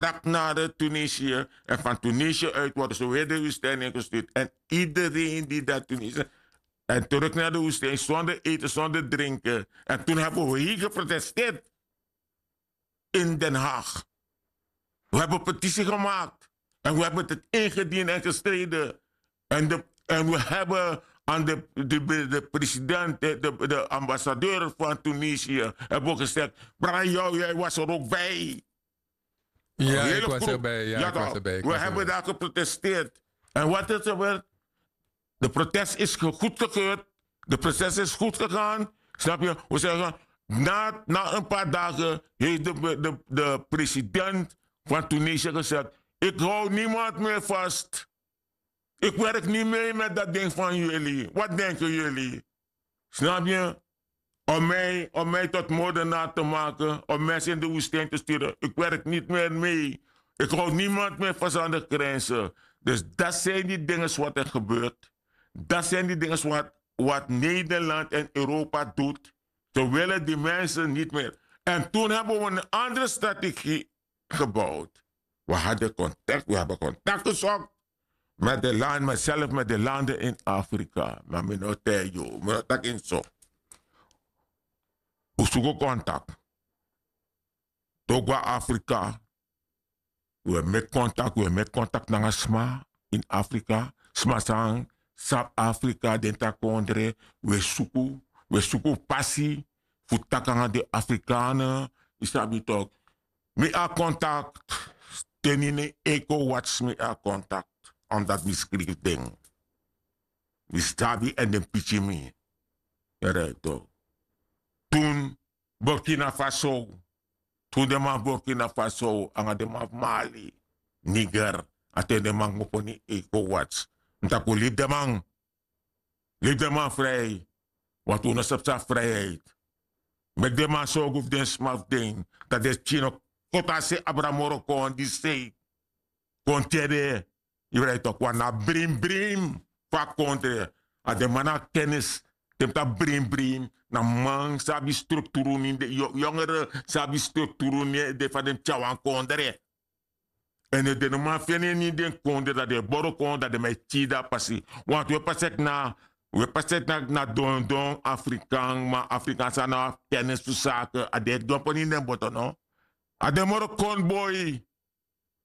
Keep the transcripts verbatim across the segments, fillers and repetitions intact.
tak nari tunisia. En fan tunisia uit worden ze weer de wustijning gestuurd en iedereen die dat tunisia en terug nari de wustijning zonder eten zonder drinken. En toen hebben we hei geprotesteerd in den haag. We hebben petitie gemaakt en we hebben het ingediend en gestreden. En we hebben aan de president de ambassadeur van tunisia hebben we gezegd, brada jou jij was er ook bij. We hebben daar geprotesteerd. En wat is er werd? De protest is goedgekeurd. De protest is goed gegaan. Snap je? We zeggen, na een paar dagen heeft de president van tunisia gezegd, ik hou niemand meer vast. Ik werk niet mee met dat ding van jullie. Wat denken jullie? Snap je? Om mij tot moordenaar te maken, om mensen in de woestijn te sturen. Ik werk niet meer mee. Ik hou niemand meer vast aan de grenzen. Dus dat zijn die dingen wat er gebeurt. Dat zijn die dingen wat nederland en europa doet. Ze willen die mensen niet meer. En toen hebben we een andere strategie gebouwd. We hadden contact we hebben contact gezocht met de land met zelf met de landen in afrika maar mi no tij yu mi no taki so. We suku contact. Togwa afrika. We meki contact we meki contact nanga sma in afrika. Sma san sabi afrika den tra kondre. We suku we suku pasi fu taki nanga den afrikanen. Yu sabi tok. Mi a contact. Ten ini eko wats mi a contact. Omdat mi skrifi den mi sabi en den piki mi. Yere tok. Tun burkina faso. Tun den man burkina faso anga den man fu mali niger. A ten den man kmopo ni eko wats. Mi taki un libi den man. Libi den man frij. Want un no sabi san friheid. Meki den man sorgu fu den sma fu den dati den pikin no koti a se abra moro kon di sei. Kon tyere. Yu rai toki wan na brimbrim fu a kondre. A den man na kennis. Den mus tapu brimbrim na man san abi strukturu ni de yongere san abi strukturu ni de fa den mus tyari wan kondre. Èn den no man feni en ini den kondre dati den e boro kon dati den man e kiri den a pasi. Wantu un e pasi eti na un e pasi eti na dondon afrikan ma afrikan san no abi kennis fu sake a den e dyompo ini den boto no. A den moro kon boi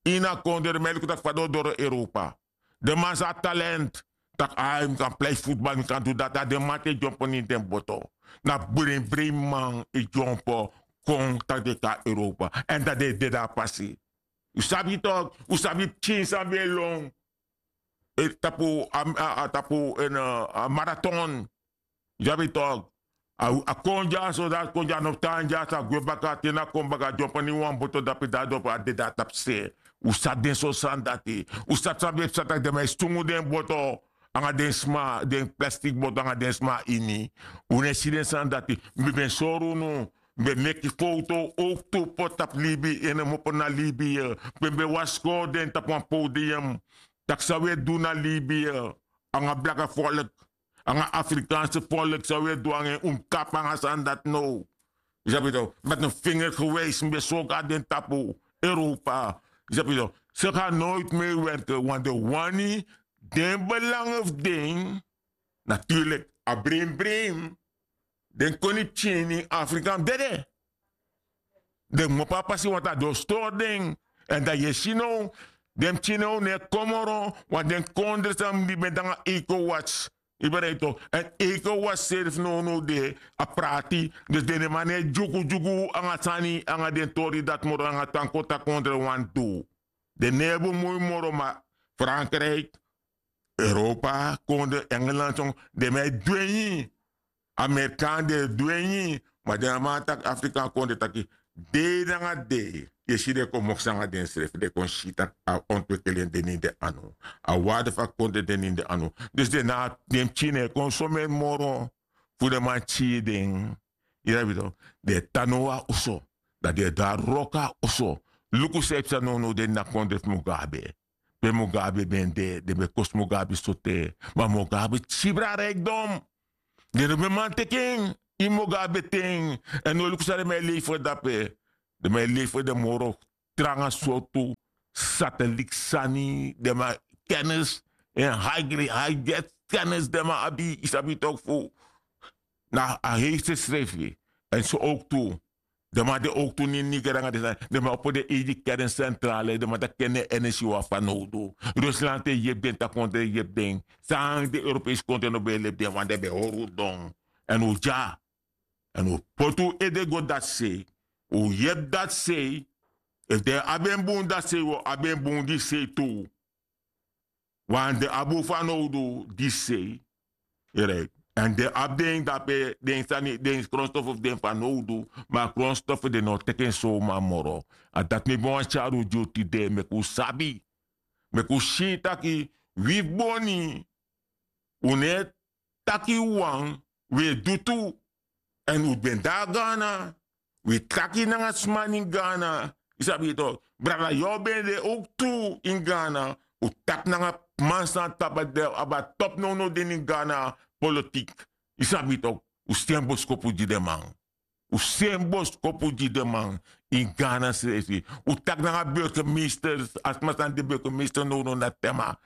ini a kondre den man e luku tak' fa den o doro europa. Den man san abi talent tak' ai mi kan plei futbal mi kan du dati a den man te dyompo ini den boto. Na brimbrim man e dyompo kon tak' den e kon na europa èn dati den e dede a pasi. Un sabi tok un sabi pikin san ben e lon tapu a tapu en maraton. Yu sabi tok a kon dya so dati kon dya no tan dya so a gwe baka te na kon baka dyompo na ini wan boto dape dati dopo a dede na tapu se. Un sabi den so sani dati. Un sabi san ben e psa tak' den man e sungu den boto nanga den sma den plastik boto nanga den sma ini. Un no e si den sani dati. Mi ben sori unu mi ben meki fowtow owktu poti tapu libi en en mopo na libi. Pe mi ben wasi kori den tapu wan podium tak' san un e du na libi nanga blaka folk nanga afrikanse folk san un e du nanga en un mus kapu nanga sani dati now. Yu sabi tok met en finger gewijsi mi ben sori go na den tapu europa. Yu sabi tok se gan noiti mei werke wan den wani den belange fu den. Naturlik a brin brin den koni pikin ini afrika mus dede. Den kmopo a pasi wantu a den o stori den. Èn dan yu e si now den pikin now no e kon moro. Wan den kondre san mus libi en nanga eiko wasi. Yu ben rei tok èn eiko wasi seri fu nownow de a prati. Dus den den man no e dyugudyugu nanga sani nanga den tori dati moro nanga tan koti a kondre wani du. Den no e bemui moro ma frankrik, europa kondre engeland son den man e dwengi. Amerikan den e dwengi. Ma den a man taki afrikan kondre taki dei nanga dei yu e si den kon moksi nanga densrefi den kon si tak' a ontwikeli en de na ini den anu. A warde fu a kondre de na ini den anu. Dus den na den pikin no e kon someni moro fu den man kiri den. Yu sabi tok den e tan now na oso dan den e du a wroko na oso. Luku san e psa nownow de ini a kondre fu mugabe. Pe mugabe ben de den ben kosi mugabe sote. Ma mugabe kibri a rikdom. Den no ben man teki en ini mugabe ten. Èn no luku san den man e leifer dape. Den man e leifer den moro tranga sortu satelik sani den man, kennis, en high grade high get kennis den man abi, yu sabi tok fu na a heeste srefi. En so ook tu den man de ook tu nini nigeri nanga den sani den man opo den eigi kennis sentrale den man taki ken den energi wan fanowdu. Rusland e yepi den takondre e yepi den. San den europese kondre no ben e lepi den wan den ben hori un don. Èn un dya èn un poti un ede go dati sei. Un yepi dati sei. Efu den abi en bun dati sei wi o abi en bun disi sei tu. Wan den abi un fanowdu disi sei. Èn den abi den dape den sani den kronstofu fu den fanowdu. Ma a kronstofu den no teki en sowma moro. A dati mi ben wani tyari un gi un tide meki un sabi meki un si taki wi fu boni un no e taki wawan. Wi e du tu. Èn un ben de na ghana. Wi taki nanga sma na ini ghana. Yu sabi yu tok brada yu o ben de owktu ini ghana. Un taki nanga man san tapu a de abi a topu nownow de na ini ghana. Politik yu sabi yu tok. Un sen boskopu gi den man. Un sen boskopu gi den man. Ini ghana srefi un taki nanga burgemeester a sma san de burgemeester nownow na tema.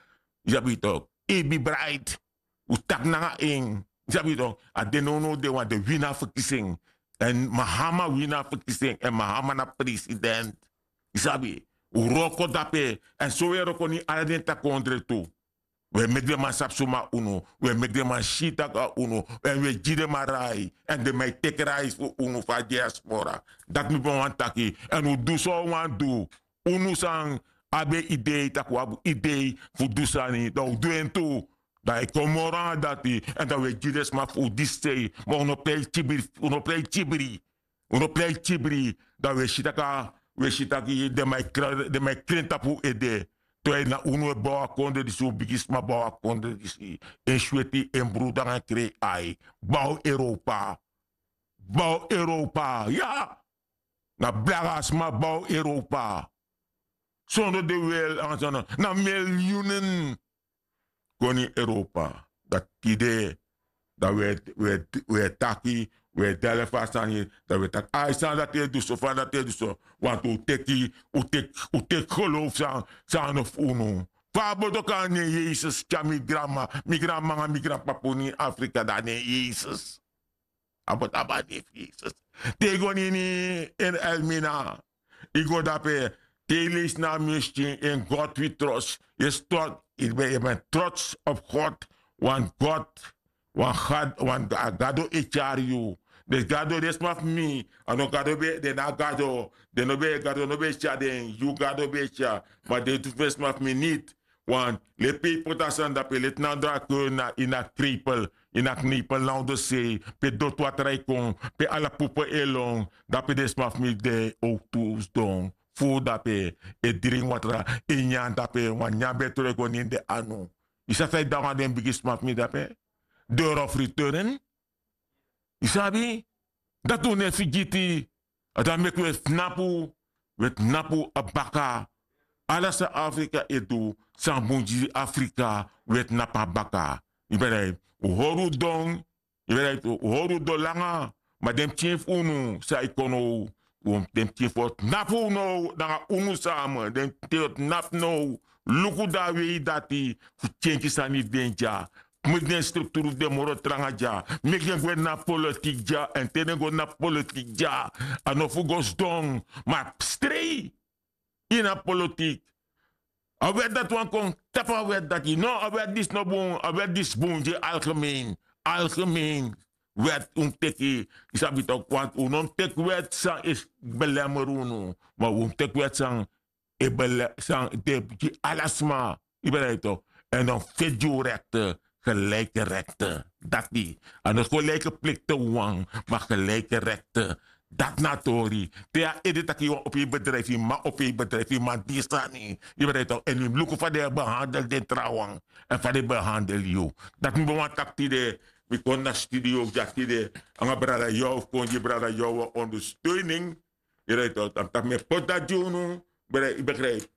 Yu sabi yu tok ebi bright. Un taki nanga en. Yu sabi yu tok a de nownow de wan de wini a ferkisi en. Èn mahama wini a ferkisi en èn mahama na president. Yu sabi un wroko dape. Èn so un e wroko na ini ala den takondre tu. Un e meki den man sabi suma unu. Un e meki den man si tak' a unu. Èn un e gi den man rai èn den man e teki rai fu unu fu a diaspora. Dati mi ben wani taki. Èn un du san un wani du. Unu san abi en idei tak' un abi idei fu du sani dan un du en tu. Dan a e kon moro nanga dati èn dan un e gi den sma fu un disi sei. Ma un no prei kibri un no prei kibri. Un no prei kibri. Dan un e si tak' a un e si tak' den man e kren tapu un ede. Te na unu e bow a kondre disi un bigisma bow a kondre disi. En sweti en brudu nanga en krei ai. Bow europa. Bow europa ya. Na blaga sma bow europa. Sondro de wel ansa na milyunen. Kon ini europa dati tide dan wi e taki wi e dele fu a sani. Dan wi e taki ai sani dati e du so fa dati e du so. Wantu un teki un teki un teki gelowfu san san no fu unu. Fa a boto kan a nen yesus tyari mi granma mi granma nanga mi granpapa unu ini afrika dan a nen yesus. A boto abi a nen fu yesus. Te yu go na ini en elmina yu go dape. Te yu leisi na a miskin en god wi trots yu e stori yu ben trots op god. Wan god wan gado e tyari yu. Den gado den sma fu mi a no gado ben den na gado. Den no ben gado no ben e tyari den yu gado ben e tyari. Ma den tu fu den sma fu mi niti. Want leti pe yu poti a sani dape leti na drakeur na ini a krepel ini a knepel na ondosei pe dotwatra e kon pe ala pupu e lon. Dape den sma fu mi de owktu sidon furu dape e dringi watra e nyan dape wan nyan ben e tron e go na ini den anu. Yu sabi san yu danga den bigi sma fu mi dape. Doro fu riteren. Yu sabi dati un no e figiti. A dan meki un e tnapu un e tnapu a baka. Ala san afrika e du san bun gi afrika un e tnapu a baka. Yu ben dati un hori un don. Yu ben dati un hori un don langa. Ma den pikin fu unu san e kon now den pikin fu o tnapu un now nanga unu sama den pikin o tnapu now. Luku dan a wei dati fu kenki sani fu den dya. Meki den strukturu fu den moro tranga dya. Meki den gwe na politik dya èn te den go na politik dya a no fu go sidon ma strei. Ini a politik a wèt dati wani kon tapu a wèt dati no a wèt disi no bun a wèt disi bun gi algemen. Algemen wèt un mus teki. Yu sabi toki wantu un no mus teki wèt san e belemeri unu. Ma un mus teki wèt san e bele san de gi ala sma. Yu ben dati tok. Èn dan feti gi un rekte. Gelijke rekte dati a no gelijke plikte wan ma gelijke rekte. Dati na a tori te yu a ede tak' yu wan opo yu bedrijfi yu man opo yu bedrijfi yu man di sani. Yu ben dati tok èn yu mus luku fa den e behandel den trawan èn fa den e behandel yu. Dati mi ben wani taki tide. Mi kon na studio dya tide nanga brada yow fu kon gi brada yow wan ondersteuning. Yu ben dati tok dan mi taki mi e poti dati gi unu. Yu ben dati tok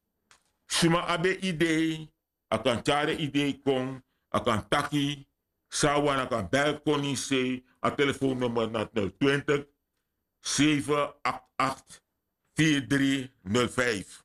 suma abi en idei. A kan tyari en idei kon. A kan taki san a wani a kan bel kon na ini sei. A telefoonnummer na nul twintig seven acht acht vier drie nul vijf.